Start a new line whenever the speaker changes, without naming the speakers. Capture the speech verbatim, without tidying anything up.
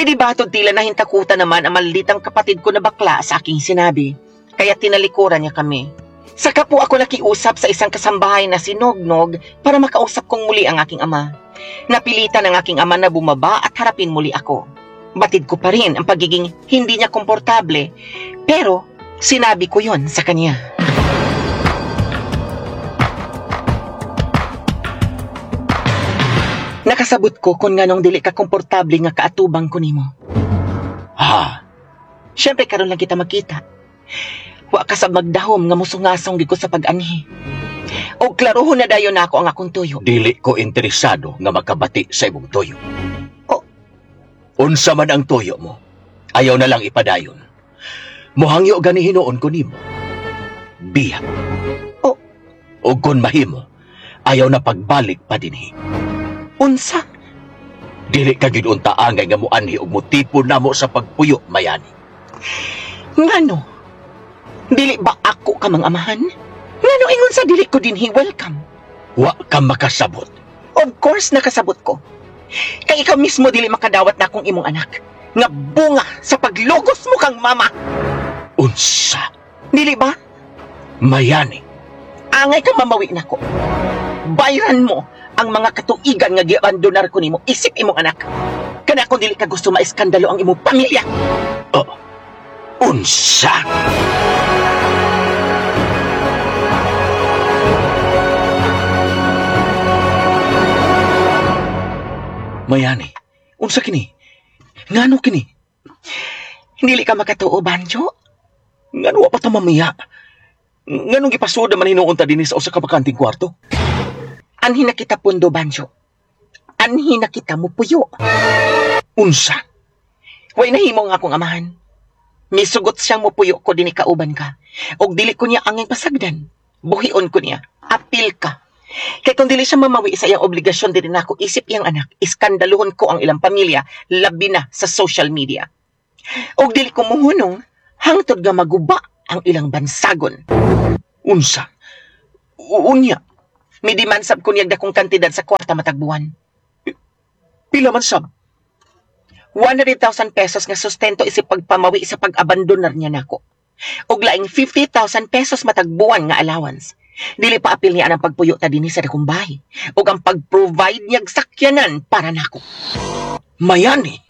Lady Batod, tila nahintakutan naman ang malitang kapatid ko na bakla sa aking sinabi. Kaya tinalikuran niya kami. Saka po ako nakiusap sa isang kasambahay na si Nognog para makausap kong muli ang aking ama. Napilitan ang aking ama na bumaba at harapin muli ako. Batid ko pa rin ang pagiging hindi niya komportable, pero sinabi ko yon sa kanya. Nakasabot ko kung nganong dili ka komportable nga kaatubang ko nimo.
Ha?
Siyempre karon lang kita magkita. Wa ka sa magdahom nga musungasong gid ko sa pag-anhi. Og klarohon na dayon nako ang akong tuyo.
Dili ko interesado nga makabati sa imong tuyo.
Oh.
Unsa man ang tuyo mo, ayaw na lang ipadayon. Muhangyo gani hinuon ko nimo. Biya.
Oh.
Og kung mahimo, ayaw na pagbalik pa dinhi.
Unsa?
Dili ka gyud unta angay nga muanhi og motipon namo sa pagpuyo, Mayani.
Ngano? Dili ba ako ka mang amahan? Ngano ingon sa dili ko dinhi welcome?
Wa ka makasabot.
Of course nakasabot ko. Kay ikaw mismo dili makadawat na akong imong anak. Nga bunga sa paglugos mo kang mama.
Unsa?
Dili ba?
Mayani.
Angay ka mamawi nako. Bayran mo ang mga katuigan nga giabandonar ko nimo isip imong anak. Kana kung dili ka gusto maiskandalo ang imong pamilya.
Oh. Unsa? Mayani, unsa kini? Ngano kini?
Dili ka makatuo, Banjo?
Ngano wa pa ta mamiya? Nganong gipasuda man hinuon ta dinhi sa usa ka bakanting kwarto?
Anhi na kita pundo, Banjo. Anhi na kita mupuyo.
Unsa?
Way nahimo nga akong amahan. Misugot siyang mupuyo ko dinhi kauban ka. Og dili ko niya angay pasagdan. Buhion ko niya. Apil ka. Kay kung dili siya mamawi sa iyang obligasyon diri nako isip iyang anak, iskandaluhon ko ang ilang pamilya, labi na sa social media. Og dili ko muhunong hangtod nga maguba ang ilang bansagon.
Unsa? Unya?
Midiman sab ko niyag dakong kantidad sa kwarta matag buwan.
Pila man sab?
one hundred thousand pesos nga sustento isip pagpamawi sa pag-abandonar niya nako. Og laing fifty thousand pesos matag buwan nga allowance. Dili pa apil niya ang pagpuyo ta dinhi sa dakong bahay ug ang pag-provide niyag sakyanan para nako.
Mayani.